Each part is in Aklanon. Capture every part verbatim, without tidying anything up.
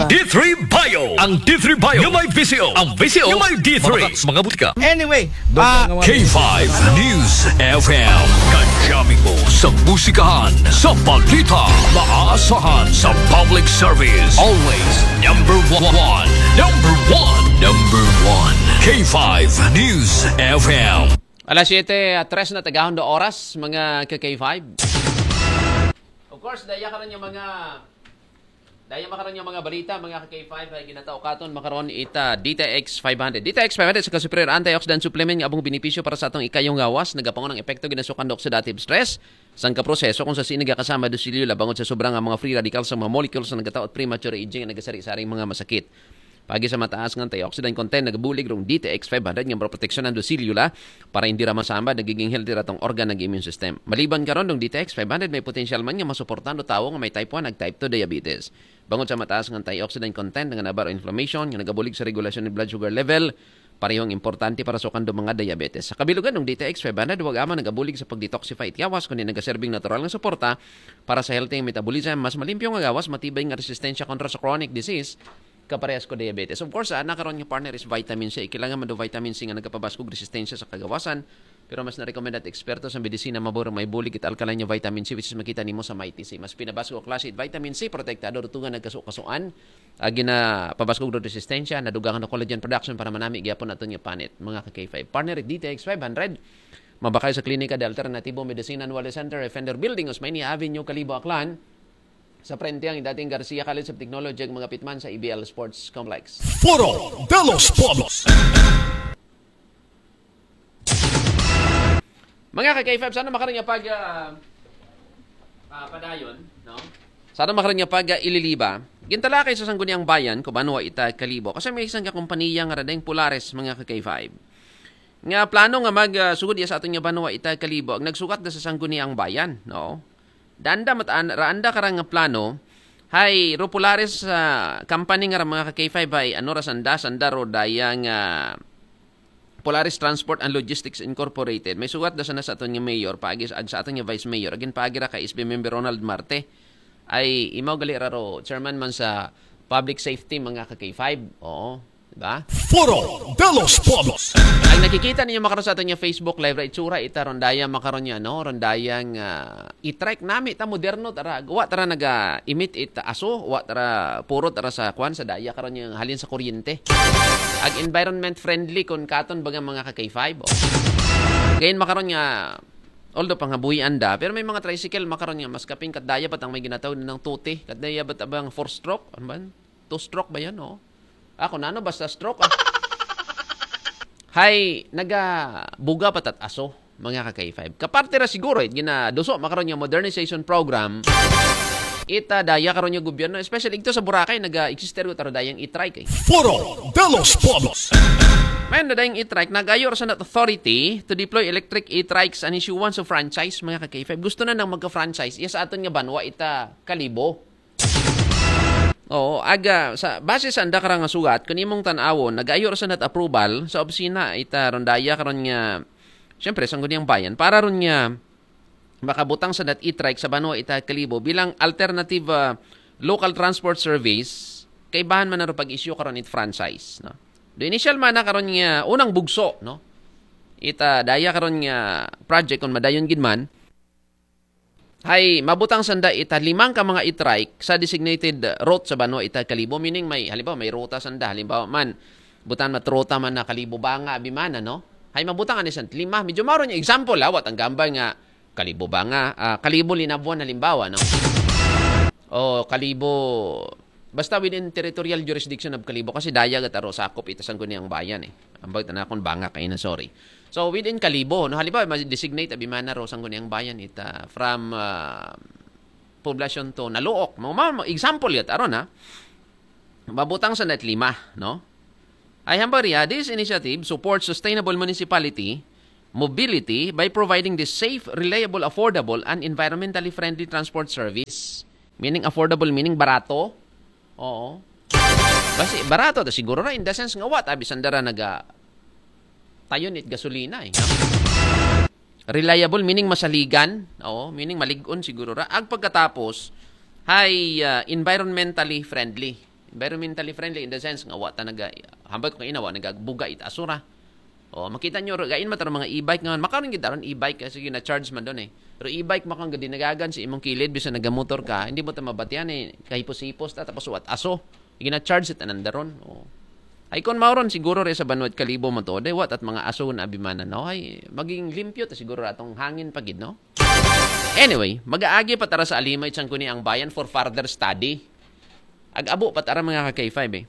D three Bio. Ang D three Bio nga may V C O. Ang V C O nga may D three. Mga, mga butika. Anyway, Ah, K five News F M. Kadjami mo sa musikahan, sa balita, maasahan sa public service. Always number one. Number one. Number one. K five News F M. Alas siyete at tres na tagahon na oras, mga ka-K five. Of course, daya karon yung mga daya makaron yung mga balita, mga ka-K five, ay ginatao katon makaron ita D T X five hundred. D T X five hundred sa ka-superior antioxidant supplement nga abong benepisyo para sa atong ikayong gawas, nagapangon ang epekto ginasukan do oxidative stress. Sang ka proseso kung sa sini kasama dosilyo labangod sa sobrang nga mga free radicals sa mga molecules na nagataot premature aging nga nagasari-saring mga masakit. Pagi sa mataas nga antioxidant content, nagabulig rong D T X five hundred nga proteksyon ang dosilyo la para hindi ra masamba, nagiging healthy ratong organ ng immune system. Maliban karon dong D T X five hundred, may potensyal man nga masuportahan do tawo nga may type one ag type two diabetes. Bangod sa mataas nga antioxidant content nga nabaro inflammation nga nagabulig sa regulasyon ng blood sugar level, parehong importante para sa kando mga diabetes. Sa kabilugan ng D T X five hundred, wag ama nagabulig sa pag-detoxify itiyawas kundi nagaserbing natural nga suporta para sa healthy metabolism, mas malimpyo nga gawas, matibay nga resistensya kontra sa chronic disease, kaparehas ko diabetes. Of course, ana karon nga partner is vitamin C. Kailangan man do vitamin C nga nagapabas kog resistensya sa kagawasan. Pero mas na-recommend at eksperto sa medisina maburo may bulig it alkaline nga vitamin C, which is makita nimo sa Mighty C. Mas pinabas ko klase it vitamin C, protektado rutungan nagkaso-kasuan. Agi na pabas kog resistensya, nadugangan na collagen production para manami gyapon aton nga panit. Mga ka-K five. Partner, D T X five hundred. Mabakay sa Klinika de Alternatibo Medicina Anwale Center, Fender Building, Osmeña Avenue, Kalibo, Aklan. Sa frente ang dating Garcia College of Technology, ang mga pitman sa E B L Sports Complex. Foro de los Pueblos. Mga ka-K five, sana makaroon niya pag ah, ah, padayon, no? Sana makaroon niya pag ah, ililiba. Gintalakay sa Sangguniang Bayan, Kubanwa, ita Kalibo. Kasi may isang kakumpaniya nga radeng Polaris, mga ka-K five. Nga plano nga mag ah, sugod iya sa aton nga banwa ita Kalibo, ang nagsukat na sa Sangguniang Bayan, no? Danda mataan, raanda karang nga plano, hay ro Polaris sa company nga ra mga ka-K five hay ano ra sanda, sanda ro dayang ah, Polaris Transport and Logistics Incorporated. May sugat da sana sa aton nga mayor, paagi sa, ag sa aton nga vice mayor, agin paagi ra kay S B member Ronald Marte. Ay imaw gali ra ro chairman man sa public safety, mga ka-K five. Oo, di ba? Foro de los Pueblos. Ang nakikita ninyo makaron sa aton nga Facebook live ra itsura ita rondaya makaron niya, no? Rondayang ah, e-trike nami ta moderno tara, wa tara naga-emit it aso, wa tara puro tara sa kwan sa daya karon niya halin sa kuryente. Ag environment friendly kon katon baga mga ka-K five. Oh. Gayon makaron nga although pangabuhi anda, pero may mga tricycle makaron nga mas kaping kat daya bat ang may ginatawag ng tuti, kat daya bat abang four stroke, ano ba? Two stroke ba yan, oh? Ako nano basta stroke ah. Hay, nagabuga pa tat aso, mga ka-K five. Kaparte ra siguro it ginaduso makaron nga modernization program. Ita daya karon nga gobyerno, especially ito sa Boracay, naga-existe ro taro dayang e-trike eh. Foro de los Pueblos. Mayon na dayang e-trike, nagayo ra sa nat authority to deploy electric e-trikes and issuance of franchise, mga ka-K five. Gusto na nang magka-franchise. Iya sa aton nga banwa ita Kalibo. Oo, aga sa base sa anda karang nga sugat kun imong tan-awon, nagayo ra sa nat approval sa opisina ita rondaya karon nga syempre Sangguniang Bayan para ron nga makabutang sa nat e-trike sa banwa ita Kalibo bilang alternative ah, local transport service kay bahan man na ro pag-issue karon it franchise, no? Do initial man na karon nga unang bugso, no? Ita daya karon nga project kun madayon gid man, hay mabutang sanda ita limang ka mga e-trike sa designated route sa banwa ita Kalibo, meaning may halimbawa may ruta sanda, halimbawa man butan mat ruta man na Kalibo Banga abi man, no? Hay mabutang ani san lima, medyo maro niya example ha, wat ang gambay nga Kalibo Banga, ah, Kalibo Linabuan halimbawa, no? O Kalibo basta within territorial jurisdiction of Kalibo kasi daya gat aro sakop ita Sangguniang Bayan eh. Ambag tana kun Banga kay na, sorry. So within Kalibo, no, halimbawa ma-designate abi man na ro Sangguniang Bayan ita from ah, poblasyon to Naluok. Mga, mga example yat aron ha. Mabutang sa net lima, no? Ay hambariya, this initiative supports sustainable municipality mobility by providing the safe, reliable, affordable, and environmentally friendly transport service. Meaning affordable, meaning barato. Oo. Basi barato ta siguro ra in the sense nga wa ta bisan dara naga tayon it gasolina eh. No? Reliable meaning masaligan, oo, meaning malig-on siguro ra. Ag pagkatapos hay ah, environmentally friendly. Environmentally friendly in the sense nga wa ta naga, hambal ko kaina, wa nagabuga it aso ra. O, makita nyo, gain man ta ron mga e-bike nga, makaron gid ta ron e-bike, kasi gina-charge man doon eh. Pero e-bike, makang gadi nagagan sa imong kilid, bisan nagamotor ka, hindi mo ta mabatian eh, kahipos-hipos ta, tapos wat aso. Gina-charge it ananda ron. O. Ay, kung mao ron, siguro re sa Banwat Kalibo mo to, day, wat at mga aso na abimanan, no? Ay, maging limpyo ta siguro atong hangin pa gid, no? Anyway, mag-aagi pa tara sa Alima it Sangguniang Bayan for further study. Ag-abo pa tara mga ka-K five eh.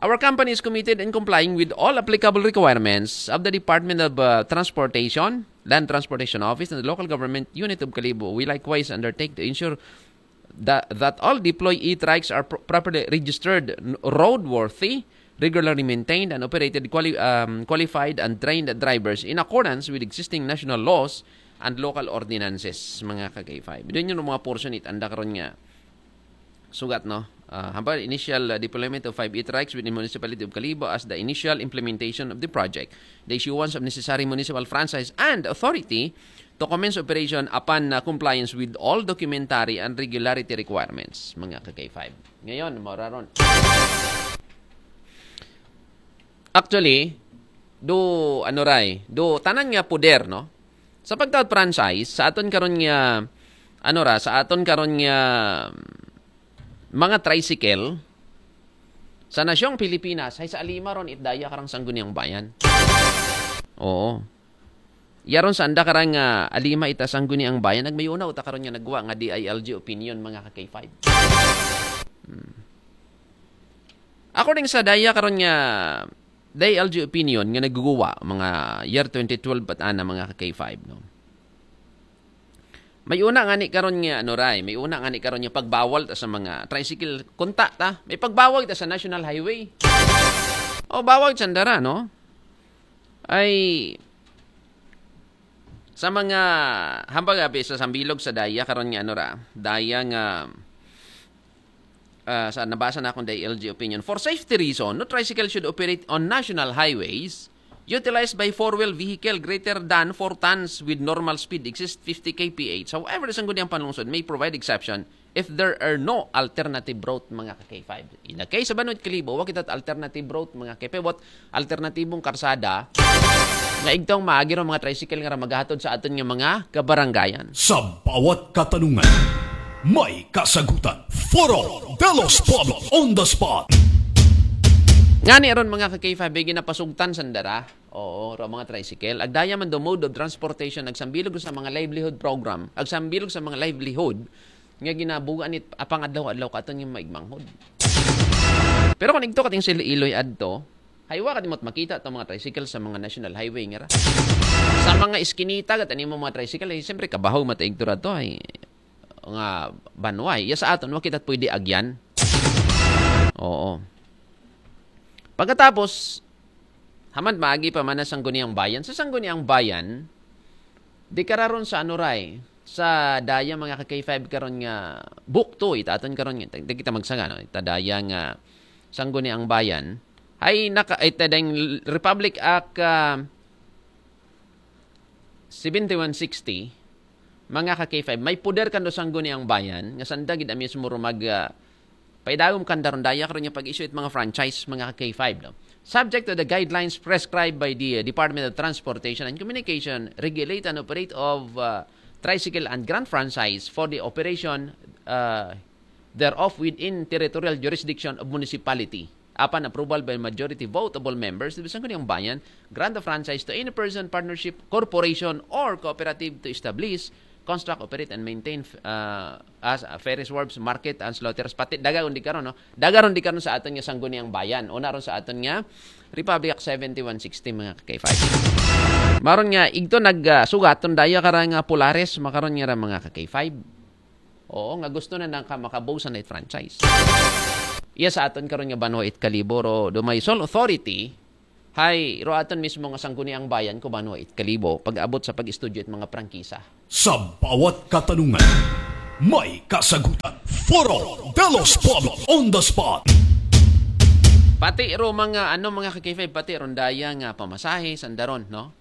Our company is committed in complying with all applicable requirements of the Department of uh, Transportation, Land Transportation Office, and the Local Government Unit of Kalibo. We likewise undertake to ensure that, that all deployed e-trikes are pro- properly registered, n- roadworthy, regularly maintained, and operated quali- um, qualified and trained drivers in accordance with existing national laws and local ordinances, mga ka-K five. Doon yung mga portion it anda karon nga sugat, no? Uh, hambal, initial uh, deployment of five e-trikes within Municipality of Kalibo as the initial implementation of the project, the issuance of necessary municipal franchise and authority to commence operation upon uh, compliance with all documentary and regularity requirements, mga ka-K five. Ngayon, mauraron. Actually, do, ano ray, do, tanan nga poder, no? Sa pagtawag franchise, sa aton karon nga, ano ra, sa aton karon nga mga tricycle, sa nasyong Pilipinas, ay sa Alima ron, itdaya karang Sangguniang Bayan. Oo. Yaron sa anda karang uh, Alima ita Sangguniang Bayan, nagmayuna uta karon nga nagwa nga D I L G opinion, mga ka-K five. Hmm. According sa daya karon nga D I L G opinion nga naguguwa, mga year twenty twelve at ana, mga ka-K five, no? May una nga ni karon nga ano ray, may una nga ni karon nga pagbawal ta sa mga tricycle, kunta ta, may pagbawal ta sa national highway. O, bawal sa andara, no? Ay, sa mga, hambal abi sa sambilog sa daya karon nga ano ra, daya nga ah, sa nabasa na akong D I L G opinion. For safety reason, no tricycle should operate on national highways utilized by four-wheel vehicle greater than four tons with normal speed exceeds fifty K P H. However, the Sangguniang Panlungsod may provide exception if there are no alternative route, mga ka-K five. In the case sa Banwat Kalibo, wa kita alternative route, mga ka-K five. What alternatibong karsada nga igtong maagi ron mga tricycle nga ra maghatod sa aton nga mga kabarangayan. Sa bawat katanungan, may kasagutan. Foro de los Pueblos on the spot. Ngani ron, mga ka-K five, ay ginapasugtan sa andara. Oo, ro mga tricycle. Agdaya man do mode of transportation, agsambilog sa mga livelihood program, agsambilog sa mga livelihood nga ginabugaan it apang adlaw-adlaw katon nga maigmanghod. Pero kung igto kating sila Iloy adto, haywa ka di mo't makita itong mga tricycle sa mga national highway nga ra. Sa mga iskinita, gat animo mga tricycle, eh, siyempre, kabahaw mataig to ra to, ay, nga banwa, eh. Iya sa aton, wa kita't pwede agyan. Oo. Pagkatapos, hamad maagi pa man ang Sangguniang Bayan. Sa Sangguniang Bayan, di kararon sa ano ray, sa daya mga ka-K five karon nga bukto, itaton karon nga, di kita magsaga, no? Ita daya nga Sangguniang Bayan, ay naka, ita dayng Republic Act ah, seventy-one sixty, mga ka-K five, may poder kando Sangguniang Bayan, nga sanda gid ang mismo rumag, ah, paidagom kanda ron daya karon nga pag-issue it mga franchise, mga ka-K five, no? Subject to the guidelines prescribed by the uh, Department of Transportation and Communication, regulate and operate of uh, tricycle and grant franchise for the operation uh, thereof within territorial jurisdiction of municipality. Upon approval by majority vote of all members, the Sangguniang Bayan grant the franchise to any person, partnership, corporation, or cooperative to establish, construct, operate, and maintain uh, as uh, ferries, wharves, market, and slaughters. Pati daga ron di karon, no? Daga ron di karon sa aton nga Sangguniang Bayan. Una ron sa aton nga Republic Act seventy-one sixty, mga ka-K five. Maron nga, igto nagsugaton daya karang ah, Polaris, makaron nga ra mga ka-K five. Oo, nga gusto na nang ka- makabusan na it franchise. Iya sa aton karon nga banwa it Kalibo, ro, do may sole authority, hay, ro aton mismo nga Sangguniang Bayan ko banwa it Kalibo, pag-abot sa pag-estudyo it mga prangkisa. Sa bawat katanungan, may kasagutan. Foro de los Pueblos on the spot. Pati ro mga, ano, mga ka-K five, pati ron daya nga pamasahe, sandaron, no?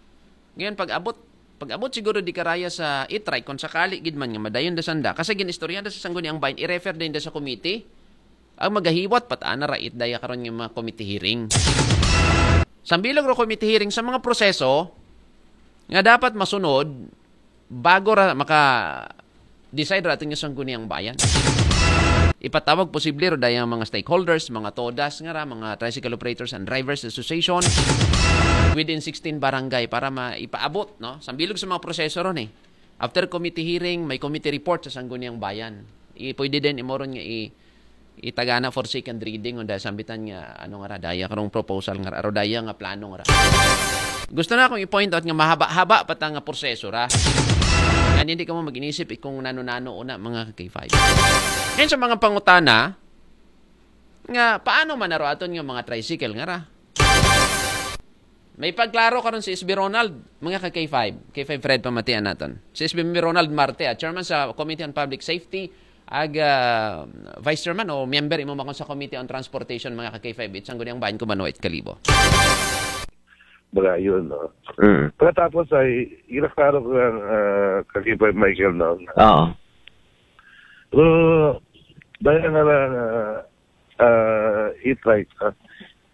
Ngayon, pag-abot, pag-abot siguro di karaya sa e-trike, kung sakali gid man nga madayon da sanda, kasi gin-istorya da sa Sangguniang Bayan, i-refer din da sa committee, Ang magahiwat pa ta ana ra it daya karon nga mga committee hearing. Sambilog ro committee hearing sa mga proseso nga dapat masunod bago ra maka decide ra aton nga Sangguniang Bayan. Ipatawag posible ro daya ang mga stakeholders, mga TODAs nga ra, mga Tricycle Operators and Drivers Association within sixteen barangay para ma ipaabot, no? Sambilog sa mga proseso ron eh. After committee hearing, may committee report sa Sangguniang Bayan. I, pwede din imo ron nga i, itagana for second reading o dahil sambitan nga ano nga ra, daya karong proposal nga ra, aro daya nga plano nga ra. Gusto na akong i-point out nga mahaba-haba pa ta nga proseso ra. Nga hindi ka mo mag-inisip kung nano-nano una mga ka-K five. Ngayon sa mga pangutana, nga paano man naro aton nga mga tricycle nga ra? May pagklaro karon si S B Ronald, mga ka-K five. K five Fred, pamatian naton. Si S B Ronald Marte, ah, chairman sa Committee on Public Safety, ag ah, vice chairman o member imo makon sa Committee on Transportation, mga ka-K five, it Sangguniang Bayan ko ba no, it Kalibo. Mga yun, no? Mm. Pagkatapos ay, ginaklaro ko ng uh, Kakipay Michael, no? Oo. Pero, dahil nga lang, uh, uh, it right, uh,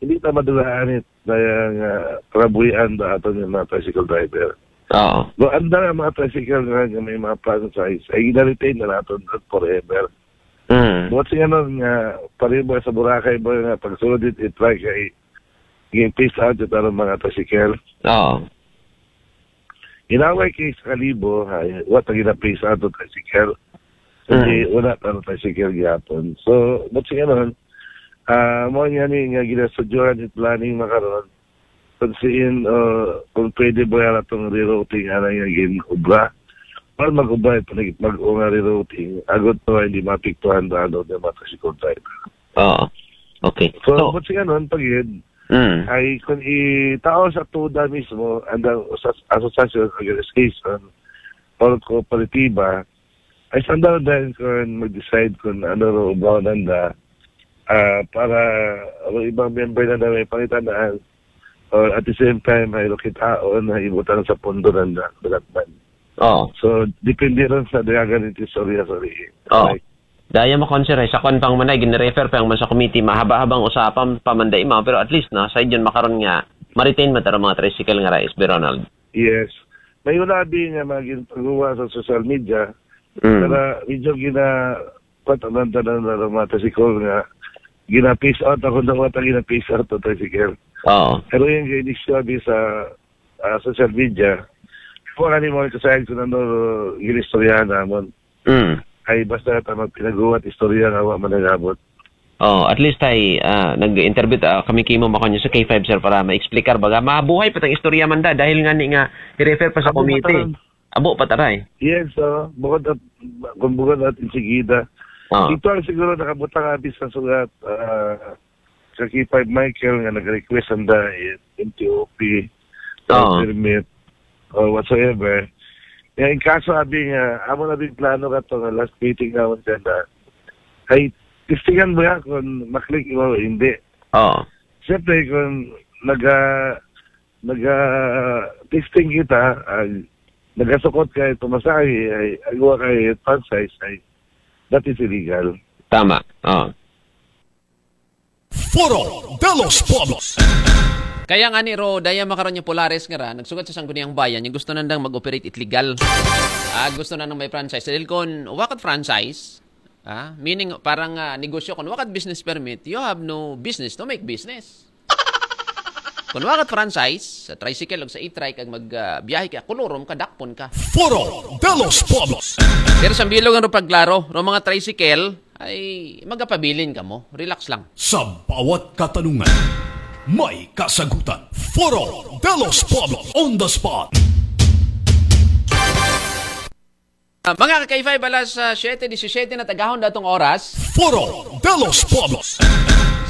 hindi ta madulaan it, dahil nga, uh, kalabuhian ba ato ng mga tricycle driver. Oo. No, anda nga mga tricycle nga, nga may mga franchise, ay gina-retain na natin forever. Mm. Buot siya nun nga, pariba sa Boracay ba nga, pagsulod it, it right kay, yung peace out it aron mga tricycle. Oo. Inaway kay sa Kalibo, ay, what ang gina-peace out of tricycle. Hindi, Mm. wala ka ng tricycle gihapon. So, but siya nun, ah, mo niya ni nga ginastudyohan it planning makaron. Kung siin, uh, kung pwede ba yan atong rerouting ana nga gin-ubra. Para mag-ubra, panigit mag-o nga rerouting. Agot to, hindi mapiktuhan ba ano, di ba, tricycle driver. Oo. Okay. So, So, but siya nun, pagid, mm. ay kung itao sa TODA mismo, andang sa association, organization, or kooperatiba, ay sandal din kung mag-decide kung ano ro ubaw nanda, ah, para ang ibang member na may pangitanaan, or at the same time, ay lukitaon na ibutang sa pondo nanda, development. Oo. So, depende rin sa dayagan ng istorya, sorry. Oo. Daya mo, Conser, eh, sa kwan pang manay, gin-refer pa man sa committee, mahaba-habang usapan pa man da ima, pero at least, no, sa idyon makaron nga, ma-retain man taro mga tricycle nga ra, S B Ronald. Yes. May unabi nga mga ginpagawa sa social media, Mm. para medyo gina, patanan-tanan na ng mga tricycle nga, gina-peace out ako na wata gina-peace out ang tricycle. Oo. Pero yung ginistyo abi sa ah, social media, kung ano mo kasayang kung ano ginistoryahan namon. Mm. Ay basta ta magpinaguwat istorya nga wa managabot. Oh, at least ay ah, nag-interview ah, kami kimo makanyo sa K five, sir, para ma-explicar baga mabuhay pa tang istorya man da dahil nga ni nga i-refer pa sa Abo committee. mataran. Abo pa taray. Yes, so, bukod at kung bukod at insigida. Oh. Ito ang siguro nakabutang abi sa sugat ah, sa K five Michael nga nag-request ang da M T O P Oo. permit or whatsoever. Nga in kaso abi nga amo na din plano ka to nga last meeting na unsa na ay testingan mo ya kung maklik mo o hindi. Oh. Siyempre kung naga naga testing kita ay nagasukot kay pamasahe ay agwa kay franchise ay that is illegal. Tama. Oh. Foro de los Pueblos. Kaya nga ni ro, daya makaron niya Polaris nga ra, nagsugat sa Sangguniang Bayan, yung gusto nandang mag-operate it legal. Ah, gusto na nang may franchise. Dahil kung wakat franchise, ah, meaning parang ah, negosyo, kung wakat business permit, you have no business to make business. Kung wakat franchise, sa tricycle o sa e-trike, ang magbiyahe ka, kulurom ka, dakpon ka. Foro de los Pueblos. Pero sa bilog ang paglaro, ro mga tricycle, ay magapabilin ka mo. Relax lang. Sa bawat katanungan, may kasagutan. Foro de los Pueblos on the spot. Ah, mga ka-K five, alas ah, siyete disisiyete na tagahon datong oras. Foro de los Pueblos.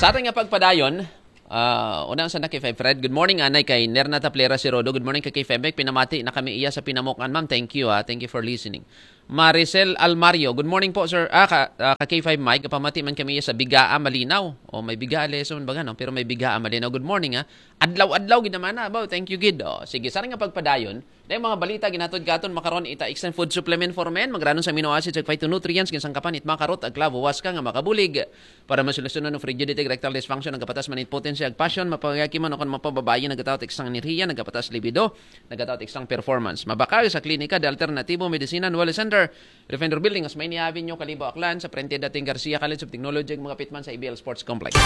Sa ating nga pagpadayon, ah, unang sa na K five Fred. Good morning, anay kay Nerna Taplera si Rodo. Good morning kay K five Mike. Pinamati na kami iya sa pinamukan, ma'am. Thank you, ah. Thank you for listening. Maricel Almario, good morning po, sir. Ah, ka, ah, ka K five Mike, pamati man kami iya sa Bigaa Malinaw. O may Bigaa lesson baga, no? Pero may Bigaa Malinaw. Good morning, ah. Adlaw-adlaw gid naman na, abaw. Thank you, gid. O, sige, sa nga pagpadayon, Dahil mga balita ginhatod katon makaron ita Extend Food Supplement for Men, magranon sa amino acids ug phytonutrients, ginsangkapan it makarot ag klabo waska nga makabulig para masolusyonan ang frigidity, erectile dysfunction, ang kapatas man it potency ag passion, mapangayaki man o kon mapababayi, nagatawat eksang enerhiya, nagapataas libido, nagatawat eksang performance. Mabakal sa klinika de alternatibo medicina Wellness Center, Refender Building, Osmeña Avenue, Kalibo, Aklan, sa frente dating Garcia College of Technology, ug mga pitman sa A B L Sports Complex.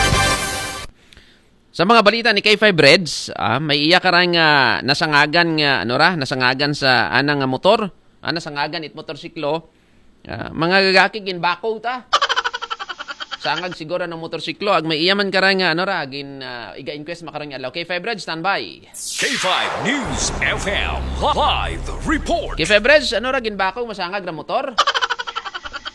Sa mga balita ni K five Reds, ah, may iya karang ah, nasangagan nga ano ra, nasangagan sa anang nga motor, ah, nasangagan it motorsiklo. Ah, mga gagaki ginbako ta. Sangag siguro ng motorsiklo ag may iya man karang ah, ano ra gin ah, iga inquest makarang adlaw. K five Reds, standby. K five News F M live report. K five Reds, ano ra ginbako masangag ra motor?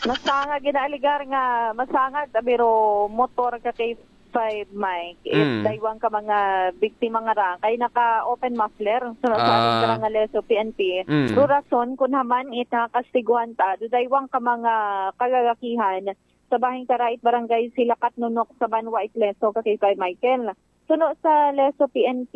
Masangag ginaaligar nga masangag ta pero motor ka kay five Mike. If Mm. daywang ka mga biktima nga ra kay naka open muffler so nasabi Ah. ka ra nga leso P N P. Mm. Pero rason kun haman it nakakastiguhan ta do daywang ka mga kagagakihan sa bahing karait barangay sila Katnunok sa Banwa Itleso ka kay five Michael. Suno sa Leso P N P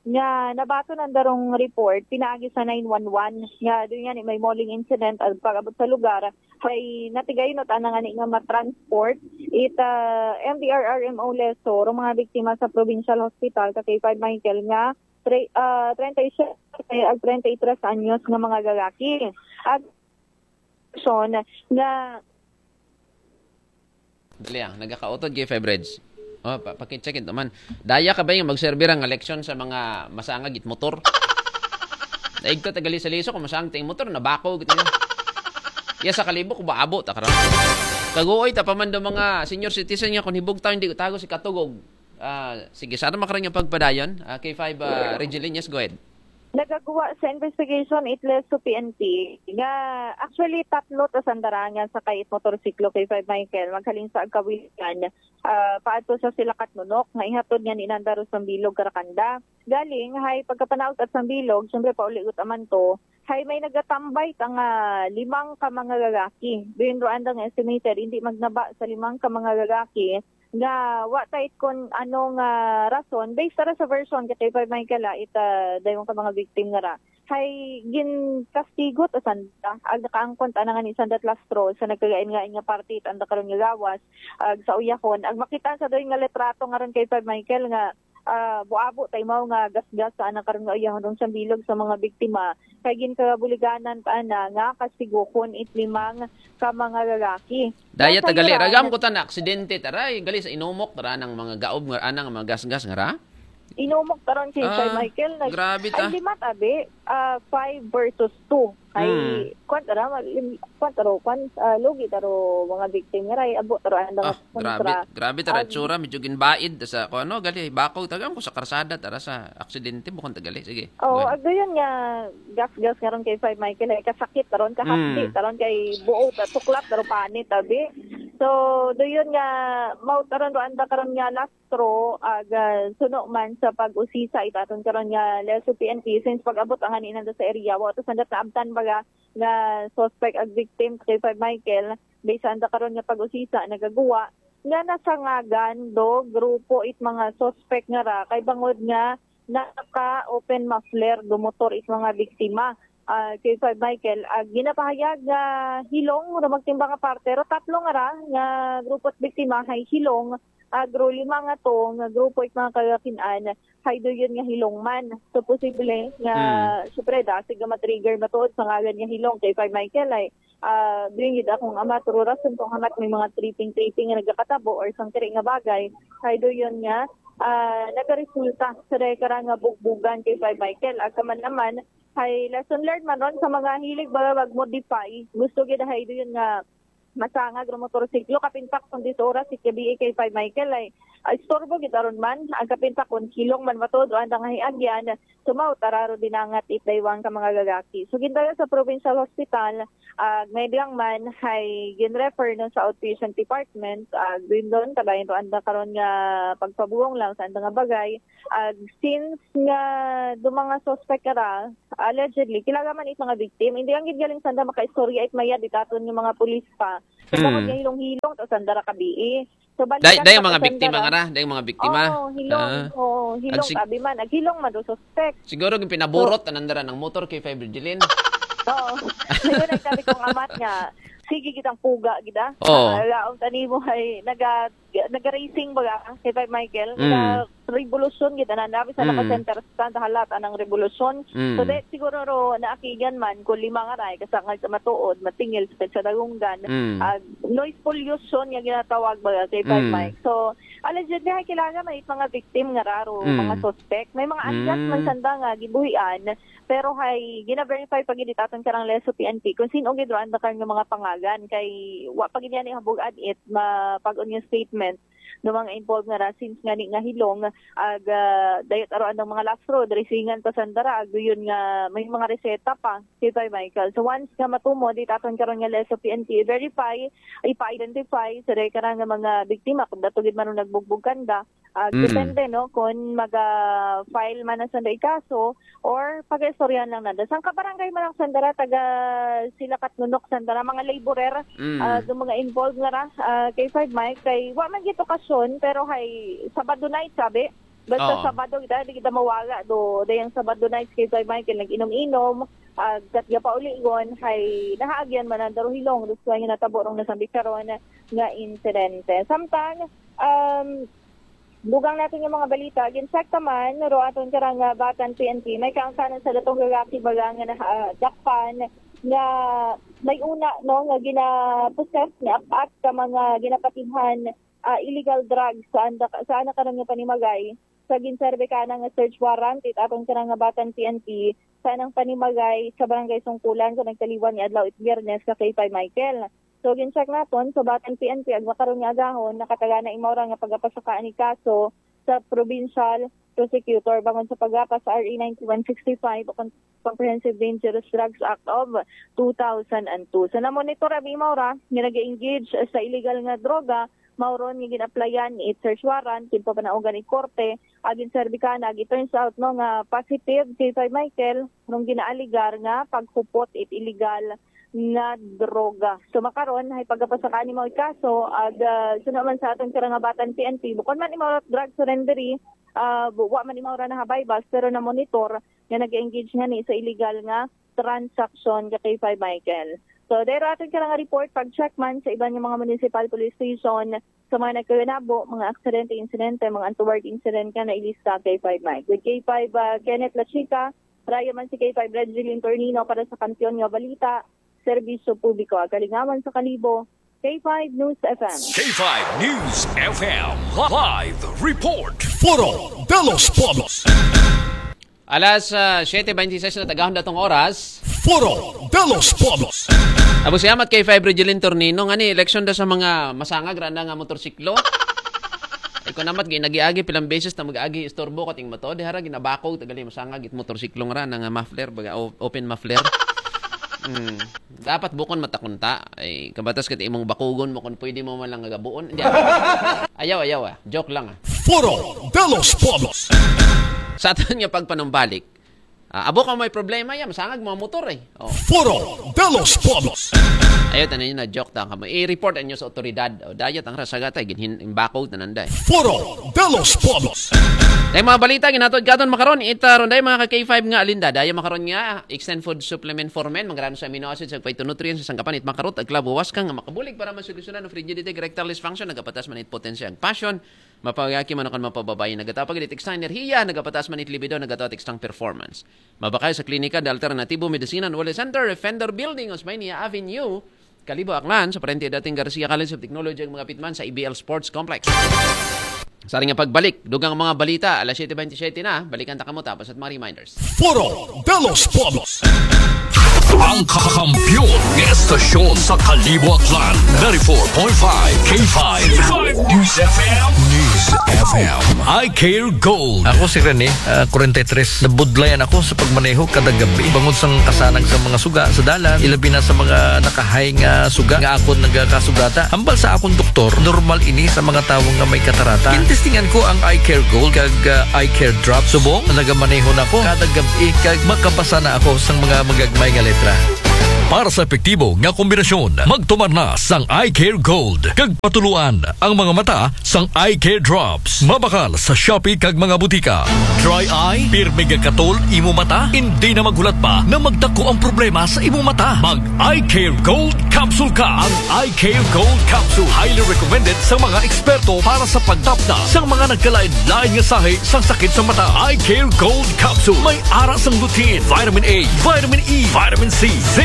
nga nabaton ang darong report pinaagi sa nine one one nga doon nga ni may mauling incident ang pag-abot sa lugar kay natigayon at anang ani nga matransport it ah, M D R R M O Leso rong mga biktima sa Provincial Hospital ka kay five Michael nga tre, ah, treinta y siete ag treinta y tres anyos nga mga lalaki. Ag nga Dali ah, nagakautod kay five Reds. Oh, pa pakitsa kit naman. Daya ka ba yung magserbi ra nga leksyon sa mga masangag it motor? Daig ka tagali sa liso kung masangag ting motor, nabako gito yun. Iya sa Kalibo, kung baabo, ta karon. Kaguoy, ta pa man do mga senior citizen nga kung hibog tayo, hindi ko tago si Katugog. Ah, sige, sana makarang yung pagpadayon. Ah, K five, ah, Regilin, yes, go ahead. Nagagawa sa investigation it Leso P N P nga actually tatlo ta sandarangan sa kay motorsiklo kay five Michael maghalin sa Agkawilan ah, paadto sa sila Katnunok nga ihatod nga ni Nanda Rosang Bilog Karakanda. Galing hay pagkapanaog at sang Bilog, siyempre pauligot aman to, hay may nagatambay ta nga limang ka mga lalaki. Duyon ro andang estimated, hindi magnaba sa limang ka mga lalaki nga wa ta it kon ano nga rason based tara sa version kay Kuya Michael ah, ita dayon ka mga victim nga ra hay ginkastigo ta sanda ag nakaangkon ta na nga ni sanda lastro sa nagkagain nga nga party it anda karon nga gawas ag sa uyahon ag makita sa doy nga litrato nga ron kay Kuya Michael nga ah, buabo ta imaw nga gasgas sa anang karon nga uyahon rong siyang bilog sa mga biktima kay ginkagabuliganan ta ana nga kastigukon it limang ka mga lalaki. Daya Nasa tagali, Iran, ragam ko ta na aksidente, taray, gali sa inumok, tara nang mga gaob nga, anang mga gasgas nga ra. Inumok taron si Ah, Sir Michael. Nag, grabe ta. Ay, lima tabi. Ah, five versus two. Ay, Hmm. kwan tara, mag- lim- kwan taro, kwan, ah, lugi taro mga victim nga ray, abo taro ang Ah, mga grabe, grabe ta Ah, ratsura, medyo ginbaid sa ko ano, gali, bako, tagam ko sa karsada, tara sa aksidente, bukon tagali, sige. Oo, Go ahead. Ag doon nga gas-gas nga ron kay Five Michael ay kasakit taron, kahapdi Mm. taron kay buo ta tuklat taron panit tabi. So doon nga mao taron do anda karon nga last straw ag ah, suno man sa pag-usisa itaton karon nga Leso P N P since pag-abot ang hanin nanda sa area wa to sandat naabtan baga nga suspect ag victim kay Five Michael based anda karon nga pag-usisa nagaguwa nga nasangagan do grupo it mga suspect nga ra kay bangod nga naka open muffler do motor it mga biktima. Ah, kay Sir Michael, ah, ginapahayag nga hilong ro magtimbang nga parte ro tatlo nga ra nga grupo at biktima hay hilong agro lima nga to nga grupo it mga kagakinan hay doon nga hilong man. So posible nga Hmm. syempre dasig nga matrigger matuod sa ngalan nga hilong kay Sir Michael ay ah, doon gid akong ama turo rason kung hamat may mga tripping-tripping nga nagakatabo or sang kiri nga bagay kay doon nga ah, nagaresulta sa dahil kara nga bugbugan kay Sir Michael. Ag kaman naman, hay lesson learned man ron sa mga hilig ba mag-modify. Gusto gid hay doon nga masangag ro motorsiklo kapintak kung dis oras si K B A kay Five Michael ay ah, istorbo gid aron man ang kapintak kung hilong man matuod o andang hiagyan sumaw tararo dinangat it daywang ka mga lalaki. So gindala sa provincial hospital ag may lang man hay gin-refer no sa outpatient department ag doon doon kadayon to anda karon nga pagpabuong lang sa anda nga bagay ag since nga do mga suspect kara allegedly kilala man it mga victim hindi ang gid galing sanda makaistorya it mayad itaton nga mga pulis pa kay Mm. bangod nga hilong-hilong to sanda ra kabii so balik Day, lang day sa ang mga sanda biktima ra. nga ra, day ang mga biktima. Oo, hilong. Ah. Oo, Hilong, sig- abi man, ag hilong man do suspect. Siguro yung pinaburot anang dara ng motor kay five Virgilin. Oo. Ngayon, ang sabi kong amat nga, sige, kitang puga, gida. Oo. Ah, laong tani mo ay naga, naga-racing baga, kay five Michael, Mm. naga revolusyon gid ana, nabi sa Mm. naka-center stand, halat anang revolusyon. Mm. So, de, siguro ro, naakigan man, kung lima nga ray, kasangad sa matuod, matingil sa, sa dagunggan, Mm. ah, noise pollution nga ginatawag baga kay five Mm. Mike. So, allegedly, ay kailangan may mga victim nga raro, Mm. mga suspect. May mga alias Mm. man sanda nga gibuhian, pero hay gina-verify pa gid aton karang Lezo P N P kung sino gid ro ang dakal nga mga pangalan, kay wa pa gid yan ihabog adit mapag-on nga statement do mga involved nga ra, since nga ni nga hilong ag, ah, dayot aro anang mga last road, racingan pa sanda ra, ag yun nga may mga reseta pa kay five Michael. So once nga matumo di aton karon nga Lezo P N P, verify, ipa-identify sa dahil karang nga mga biktima kung dato gid man ro nagbugbog kanda, ah, Mm. depende, no, kung maga-file man ang sanda ikaso or pag-istoryahan lang nanda. Sang kabarangay man ang sanda ra, taga Silakat Nunok sanda ra, mga laborer, Mm. ah, do mga involved nga ra, ah, kay five Mike, kay wa man gid okasyon, pero hay Sabado night, sabi. Basta Oo. Sabado, kita, di kita mawala do, dayang Sabado night kay five Mike, kay nag-inom-inom, ah, kat gapauligon, hay nahaagyan man ang daruhilong, do nga natabo rong nasambit karon nga insidente. Samtang, um, dugang natin yung mga balita, gincheck naman, ro aton karang, ah, Batan P N P, may kaangkanan sa datong lalaki baga nga nadakpan nga may una, no, nga gina-possess ni Apat ka mga ginapatihan, ah, illegal drugs sa anda, sa ana karon nga panimagay. Sa ginserbe ka na nga search warrant, it aton karang nga Batan P N P, sa anang panimagay sa Barangay Sungkulan, sa nagtaliwan ni adlaw it Biyernes ka kay five Michael. So, gincheck naton sa Batan P N P, ag makaron nga agahon, nakatagana imaw ra nga pagapasakaan ni kaso sa Provincial Prosecutor bangon sa paggapas sa R A ninety-one sixty-five o kon-, Comprehensive Dangerous Drugs Act of two thousand two. So, namonitor abi imaw ra nga nag-engage sa illegal nga droga, mao ron nga gin-applyan it search warrant, kin papanaugan it korte, agin serbikana, agi turns out, no, nga positive kay five Michael, rong ginaaligar nga paghupot it illegal nga droga. So, makaron, hay pagkapasakaan ni mga kaso, ag, ah, suno man sa aton karang nga Batan P N P, bukon man imaw ra drug surrendery, ah, bu-, wa man imaw ra nahabay bas, pero na-monitor nga nag-engage nga ni sa illegal nga transaction ka kay five Michael. So, dahil aton karang nga report, pag-check man sa iban nga mga municipal police station, sa mga nagkaganabo, mga aksidente, insidente, mga untoward incident nga nailista kay five Mike. With K five, ah, Kenneth Lachica, raya man si K five Regeline Tornino para sa Kampiyon nga Balita, Serbisyo Publiko, Kalingawan sa Kalibo, K five News F M. K five News F M live report. Foro de los Pueblos. Alas ah, siyete beintiseis na, tagahon datong oras. Foro de los Pueblos. Abu siyamat kay five Regeline Tornino, nga ni eleksyon da sa mga masangag ra na nga motorsiklo. Ay ko namat, ginagiagi pilang beses na mag-agi istorbo kating motor. Di hara ginabakog, tagali masangag it motorsiklo nga ra na nga muffler, baga o-, open muffler. Mm. Dapat bukon matakunta. Ay, kabatas kat imong bakugon mo kung pwede mo man lang agabuon. Hindi, ayaw, ayaw ah. Joke lang ah. Foro de los Pueblos. Sa aton nga pagpanumbalik, ah, abo ka may problema yan, masangag mga motor eh. Oh. Foro de los Pueblos. Ayaw, tanan yun na joke ta ka mo. I-report ang inyo sa otoridad. O, dayat ang rasagatay, ginhin, imbakaw, tanan day. Foro de los Pueblos. Dahil mga balita, ginatod katon makaron, ita ron dahil mga ka K five nga alinda. Dahil makaron nga, extend food supplement for men, mga sa amino acids, ag phytonutrients, sa sangkapan, it makarot, ag labuwas ka nga makabulig para masolusyonan ang frigidity, erectile dysfunction, nagapatas man it potensyang passion, mapagaki man akan mapababayi, nagatapag it extra enerhiya, nagapatas man it libido, nagatawat extra performance. Mabakay sa klinika, the Alternatibo Medicine and Wellness Center, Fender Building, Osmania Avenue, Kalibo, Aklan, sa parente dating Garcia College of Technology, ang mga pitman sa A B L Sports Complex. Sa ring pagbalik, dugang mga balita, alas siyete beintisyete na, balikan ta kamo tapos at mga reminders. Foro de los Pueblos. Ang kakampiyon ng estasyon sa Kalibo, Aklan, ninety-four point five K five News F M. News F M. I Care Gold. Ako si Rene, ah, forty-three. Nabudlayan ako sa pagmaneho kada gabi. Bangod sang kasanag sa mga suga sa dalan, ilabi na sa mga nakahay nga suga nga akon nagakasugata. Hambal sa akon doktor, normal ini sa mga tawo nga may katarata. Gintestingan ko ang Eye Care Gold kag, ah, Eye Care Drop. Subong, nagamaneho na ako kada gabi kag makabasa na ako sang mga magagmay nga letra. Para sa epektibo nga kombinasyon, magtumar na sang Eye Care Gold kag patuluan ang mga mata sang Eye Care Drops. Mabakal sa Shopee kag mga butika. Dry eye, pirmi nga katol imo mata, hindi na maghulat pa na magdako ang problema sa imo mata. Mag Eye Care Gold Capsule ka. Ang Eye Care Gold Capsule, highly recommended sa mga eksperto para sa pagtapna sa mga nagkalain-lain nga sahi sang sakit sa mata. Eye Care Gold Capsule. May ara sang lutein, vitamin A, vitamin E, vitamin C, zinc,